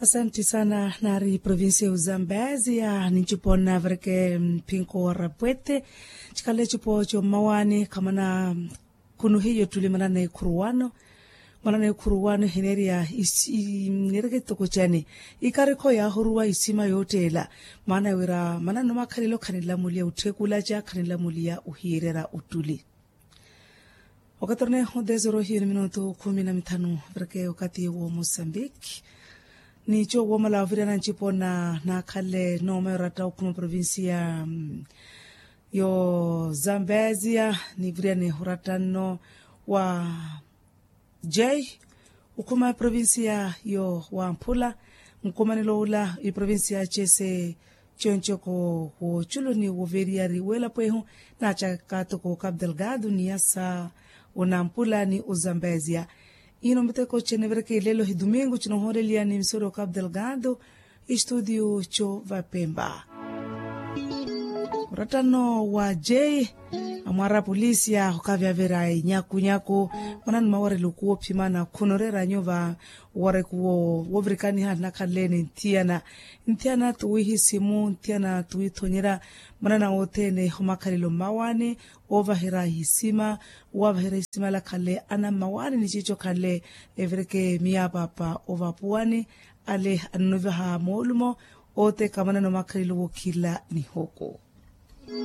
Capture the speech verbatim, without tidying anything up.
Asanti sana nari provincia ya uzambezia ninchipo navereke mpinko wa rapwete. Chikale chipo cho mmawaani khamana khunu hiyo tuli manana ekhuru wano. Manana ekhuru wano hineria isi nereke toko chani ikarikho yahuruwa isima yottela. Maana wira manana makhalelo khanilamulia utthekulacha khanilamulia uhirera utuli. Okatorneho dezero hiyo ni minutu khumi na mithanu. Vereke okati wo mosambiki nicho womala oviriana nchipo na nakhale nooma yoratta okhuma provincia yo zambezia. Niviriane oratta nno wa jay okhuma provincia yo wamphula nkumanelo ula iprovincia chese. Chonchoko wochuluni woveriyari welapwehu nachaka toko capu delgado ni asa onampula ni ozambezia. Ino miteko chenevereke lelo hi domingo chinohooreliya ni misori o capu delgado. Estudio cho vapemba oratta nno wa jay amwara polisia okavyavera inyakunyaku. Mwanani mawarelo kuwophimana khunorera nyuva. Warekuwo wovirikaniha nakhalele ni nthiyana nthiyana tuwihisimu nthiyana tuwithonyera. Mwanana wothene omakhalelo mmawaani ovaherya ihisima ovaherya ihisima lakhanle ana mmawaani ni chicho khanle evireke miyapaapa ovapuwani. Ale annuvaha moolumo oteka mwanana omakhalelo wokhila ni hoko.